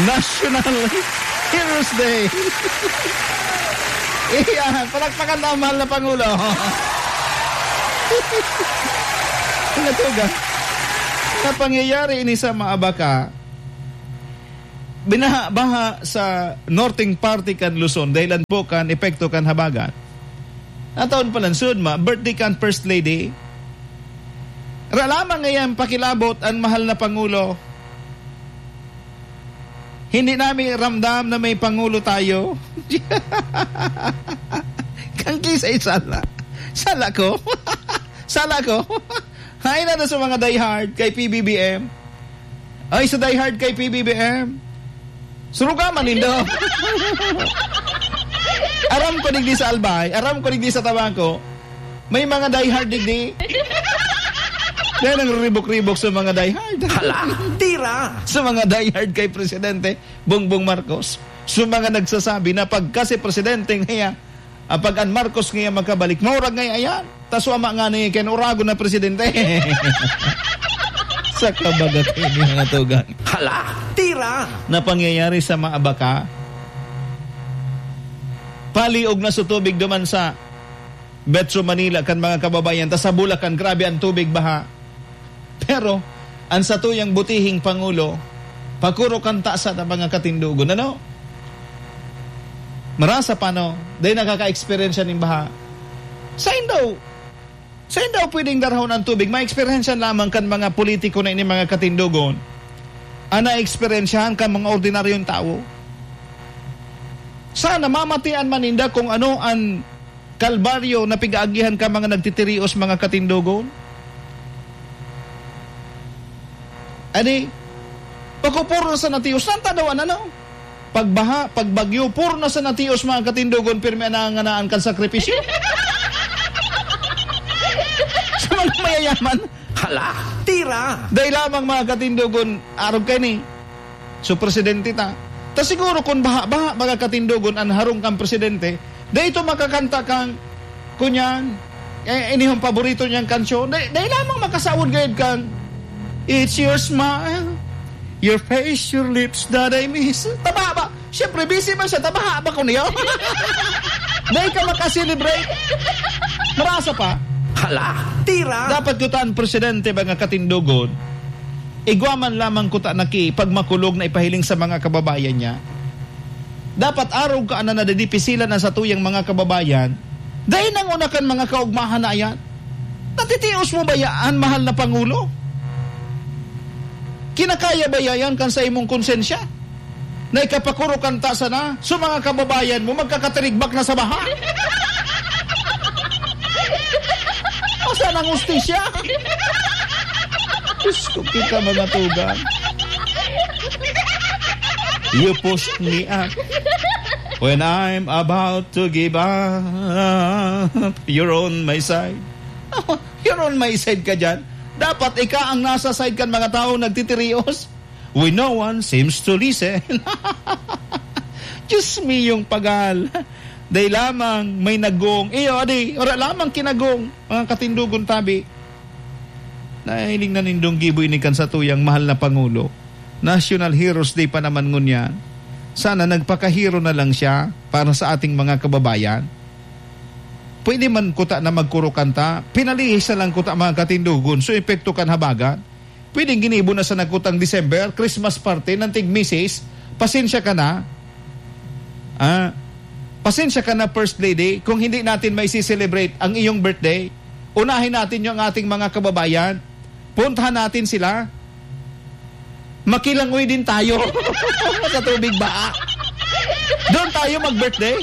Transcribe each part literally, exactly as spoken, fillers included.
National Heroes Day. Iyan, palakpakan na ang mahal na Pangulo. Natuga. Napangyayari ini sa Maabaca. Binaha-baha sa norteng parte kan Luzon, dahilan po kan epekto kan habagat. Nataon pa lang sud ma, birthday kan First Lady. Ra lamang ngayon pakilabot ang mahal na Pangulo. Hindi namin ramdam na may Pangulo tayo. Kan kisay sala. Sala ko. Sala ko. Hain na sa mga diehard kay P B B M. Ay, sa diehard kay P B B M. Suruga man nindo. Aram ko digdi sa Albay, aram ko digdi sa Tabaco. May mga diehard digdi. Kaya nangribok-ribok sa mga diehard. Hala, tira! Sa mga diehard kay Presidente Bongbong Marcos. Sa mga nagsasabi na pagka si Presidente ngayon, ah, pag an Marcos ngayon magkabalik, maurag ngayon ayan. Tas wama nga ni Ken Uragon na presidente. Sa kabagat ini mga tugang. Hala, tira! Na pangyayari sa Maabaca. Paliog na sa tubig duman sa Metro Manila kan mga kababayan. Tas sa Bulacan, grabe ang tubig baha. Pero, ang satuyang butihing Pangulo, pagkuro kan tasa na mga katindogon. Ano? Marasa pa, no? Dahil nakaka-experience siya ning baha. Sain daw, sain daw pwedeng darahon ang tubig? Ma-experience lamang kan mga politiko na ini, mga katindogon. Ang na-experiencehan kan mga ordinaryong tao. Sana mamatian man ninda kung ano ang kalbaryo na pig-aagihan ka mga nagtitirios, mga katindogon? Ani, pagkupuro na sa natios, saan ta daw, ano? Pagbaha, pagbagyo, puro na sa natios, mga katindogon, pirmi ang nanganganaan kan sakripisyo. Sa mga mayayaman. Hala, tira! Dahil lamang, mga katindogon, arog kayo ni. So, presidente ta. Ta siguro kung baha-baha, mga katindogon, ang harong kang presidente, dahil ito makakanta kang, kunyan, eh, inihong paborito niyang kansyon, dahil, dahil lamang makasawod gayod kang, "It's your smile, your face, your lips that I miss." Tama ba? Siyempre, busy man siya. Tama ba ko niyo? Dahil ka makaselebrate. Marasa pa. Hala, tira! Dapat kutaan presidente, mga katindogon, igwa man lamang kuta na ki pagmakulog na ipahiling sa mga kababayan niya. Dapat arog ka na nadidipisilan ang satuyang mga kababayan. Dahil nang una kan mga kaugmahan na yan, natitios mo ba yan, mahal na Pangulo? Kinakaya ba yan kan sa imong konsensya? Na ikapakuro kan tasa na, so mga kababayan mo, magkakatirigbak na sa baha. Asan ang hustisya? Diyos ko, kita mga tugang. You push me up when I'm about to give up. You're on my side. You're on my side ka dyan. Dapat ika ang nasa side kan mga tao nagtitirios. When no one seems to listen. Diyos miyong pagal. Dai lamang may nagong. Iyo, adi, ora lamang kinagong. Mga katindogon tabi. Nahiling na nindong gibo ini kan satuyang mahal na Pangulo. National Heroes Day pa naman ngunyan. Sana nagpakahero na lang siya para sa ating mga kababayan. Pwede man kuta na magkuro kanta, pinalihis na lang kuta mga katindogon, so epekto kan habagat. Pwedeng ginibo na sa nagkutang December, Christmas party, ng tig misis, pasensya ka na. Ah, pasensya ka na, First Lady, kung hindi natin maisi-celebrate ang iyong birthday. Unahin natin yung ating mga kababayan. Puntahan natin sila. Makilangoy din tayo sa tubig ba? Doon tayo mag-birthday?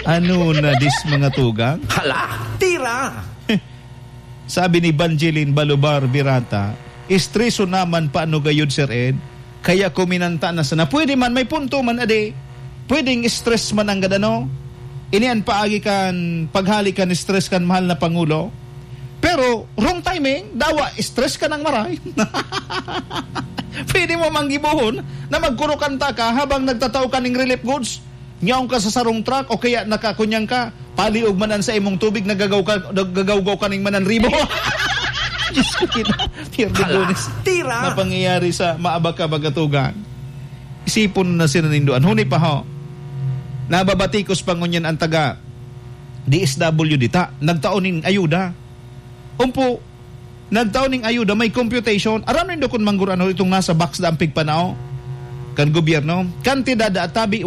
Ano na dis mga tugang? Hala, tira! Sabi ni Banjilin Balubar Birata, "Estreso naman paano gayud, Sir Ed? Kaya kuminanta na sana." Pwede man, may punto man, adi. Pwedeng stress man ang gadano. Ini an paagi kan paghali kan stress kan mahal na Pangulo. Pero, wrong timing, dawa, stress ka nang maray. Pwede mo manggibohon na magkurukanta ka habang nagtatao ka ning relief goods. Nyaong ka sa sarong truck o kaya nakakunyang ka, paliog man an sa imong tubig, nagagaw ka, nagagawgaw ka ning mananribo. Diyos ko, kita. Pierde Hala. Lunes. Tira. Na pangyayari sa maabak ka magatugan. Isipon na sila nindoan. Huni pa ho. Nababatikos pa ngunyan ang taga D S W D ta. Nagtao ning ayuda. Umpo. Nagtao ning ayuda. May computation. Aram nindo kung mangguran ho itong nasa box da ang pigpanao kan gobyerno. Kantidad da atabi